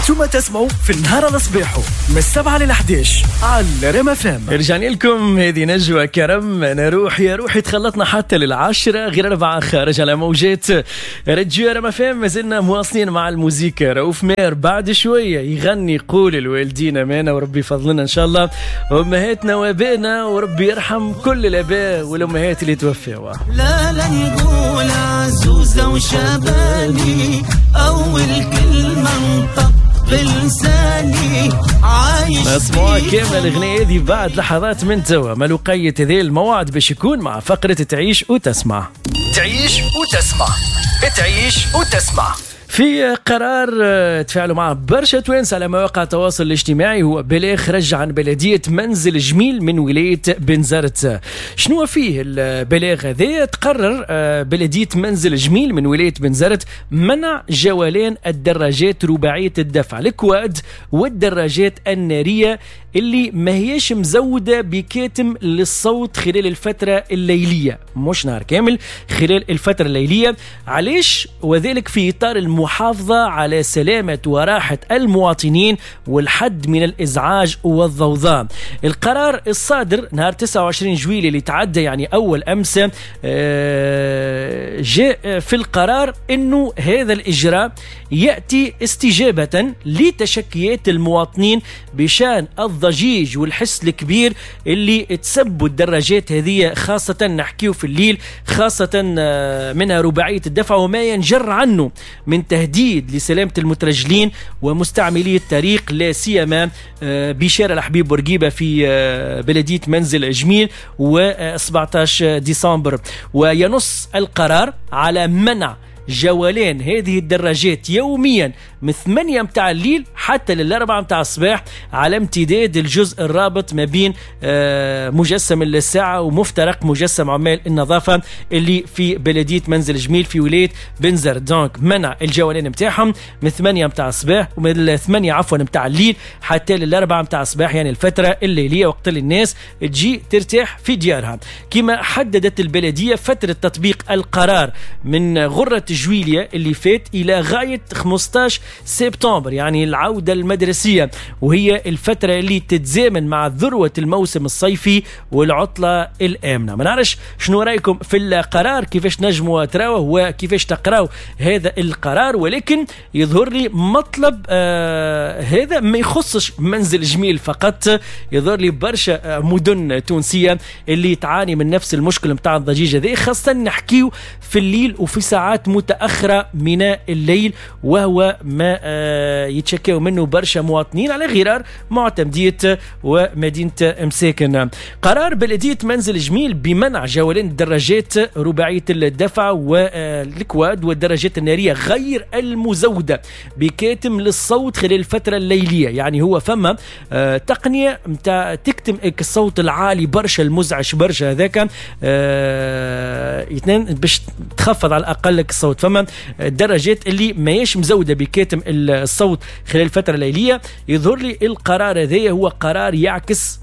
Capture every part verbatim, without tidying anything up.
انتم تسمعوا في النهار على صباحه من السبعة للحداش على رام اف ام. رجعنا لكم، هذه نجوى كرم، انا روحي يا روحي. تخلطنا حتى للعشرة غير أربعة خارج على موجات راديو رام اف ام. مازلنا مواصلين مع الموزيكا. رؤوف ماهر بعد شوية يغني قول الوالدين أمانة، وربي يفضلنا إن شاء الله أمهاتنا وابائنا، وربي يرحم كل الآباء والأمهات اللي توفوا. لا لا نقول عزوزة وشبابي، أول كلمة انطق بلساني عايش. نسمعوا كامل الأغنية هذه بعد لحظات من توا. مالوقية هذه الموعد باش يكون مع فقرة تعيش وتسمع. تعيش وتسمع، تعيش وتسمع. في قرار آه، تفاعلوا معه برشا توانسة على مواقع التواصل الاجتماعي، هو بلاغ خرج عن بلدية منزل جميل من ولاية بنزرت. شنو فيه البلاغ هذا؟ تقرر آه، بلدية منزل جميل من ولاية بنزرت منع جولان الدراجات رباعية الدفع، ال quad، والدراجات النارية اللي ما هيش مزودة بكاتم للصوت خلال الفترة الليلية، مش نهار كامل، خلال الفترة الليلية. علاش؟ وذلك في إطار المحافظة على سلامة وراحة المواطنين والحد من الإزعاج والضوضاء. القرار الصادر نهار تسعة وعشرين جويلية اللي تعدى، يعني أول أمس، آه، جاء في القرار أنه هذا الإجراء يأتي استجابة لتشكيات المواطنين بشأن الضجيج والحس الكبير اللي تسبوا الدراجات هذه، خاصة نحكيو في الليل، خاصة آه، منها رباعية الدفع، وما ينجر عنه من تهديد لسلامة المترجلين ومستعملي الطريق، لا سيما آه، بشارع الحبيب بورقيبة في آه، بلدية منزل جميل و سبعة عشر ديسمبر. وينص القرار على منع جولان هذه الدراجات يوميا من ثمانية متاع الليل حتى للأربعة متاع الصباح على امتداد الجزء الرابط ما بين آه، مجسم الساعة ومفترق مجسم عمال النظافة اللي في بلدية منزل جميل في ولاية بنزرت. donc منع الجولان متاعهم من ثمانية متاع الصباح ومن ثمانية عفوا متاع الليل حتى للأربعة متاع الصباح، يعني الفترة الليلية وقت اللي الناس تجي ترتاح في ديارها. كما حددت البلدية فترة تطبيق القرار من غرة جويليا اللي فات إلى غاية خمسة عشر سبتمبر، يعني العودة المدرسية، وهي الفترة اللي تتزامن مع ذروة الموسم الصيفي والعطلة الآمنة. ما نعرفش شنو رأيكم في القرار، كيفاش نجموا تراوه وكيفاش تقراو هذا القرار، ولكن يظهر لي مطلب آه هذا ما يخصش منزل جميل فقط، يظهر لي برشا مدن تونسية اللي تعاني من نفس المشكل متاع الضجيج هذا، خاصة نحكيو في الليل وفي ساعات متأخرة من الليل، وهو ما آه، يتشكاو منه برشا مواطنين على غرار معتمدية ومدينة مساكن. قرار بلدية منزل جميل بمنع جولان الدراجات رباعية الدفع وال quad والدراجات النارية غير المزودة بكاتم للصوت خلال الفترة الليلية، يعني هو فما آه، تقنية متاع تكتم الصوت العالي برشا، المزعج برشا هذاك، آه، باش تخفض على الأقل الصوت. فما الدراجات اللي ماهيش مزودة بكاتم الصوت خلال الفترة الليلية. يظهر لي القرار هذا هو قرار يعكس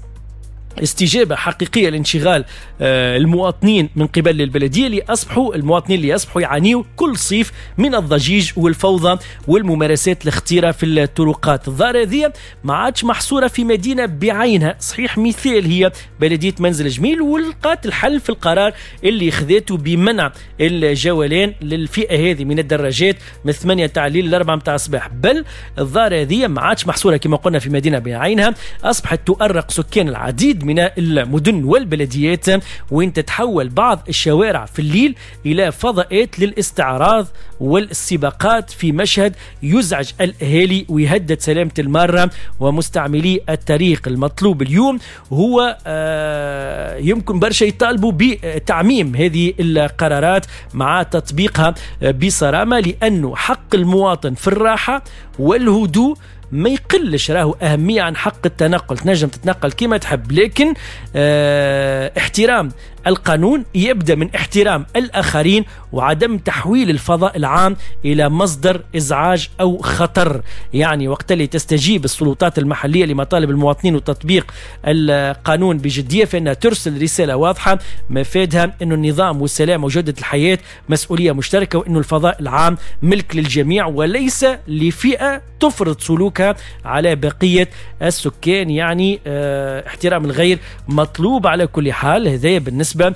استجابة حقيقية لانشغال آه، المواطنين من قبل البلدية، اللي أصبحوا المواطنين اللي أصبحوا يعانيوا كل صيف من الضجيج والفوضى والممارسات الخطيرة في الطرقات. الظاهرة هذه ما عادش محصورة في مدينة بعينها، صحيح مثال هي بلدية منزل جميل ولقات الحل في القرار اللي خذاته بمنع الجولان للفئة هذه من الدراجات من ثمانية تاع الليل ل أربعة متاع الصباح. بل الظاهرة هذه ما عادش محصورة كما قلنا في مدينة بعينها، أصبحت تؤرق سكان العديد من المدن والبلديات، وين تتحول بعض الشوارع في الليل إلى فضاءات للاستعراض والسباقات في مشهد يزعج الأهالي ويهدد سلامة المارة ومستعملي الطريق. المطلوب اليوم هو آه، يمكن برشا يطالبوا بتعميم هذه القرارات مع تطبيقها بصرامة، لأنه حق المواطن في الراحة والهدوء ما يقلش راهو أهمية عن حق التنقل. تنجم تتنقل كما تحب، لكن اه احترام القانون يبدا من احترام الاخرين وعدم تحويل الفضاء العام الى مصدر ازعاج او خطر. يعني وقت اللي تستجيب السلطات المحلية لمطالب المواطنين وتطبيق القانون بجديه، فانها ترسل رسالة واضحة مفادها انه النظام والسلام وجوده الحياة مسؤولية مشتركه، وانه الفضاء العام ملك للجميع وليس لفئة تفرض سلوكها على بقية السكان. يعني اه احترام الغير مطلوب على كل حال. هذا بالنسبة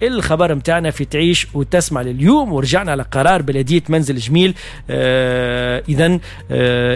للخبر متاعنا في تعيش وتسمع لليوم. ورجعنا على قرار بلديه منزل جميل. اه اذا اه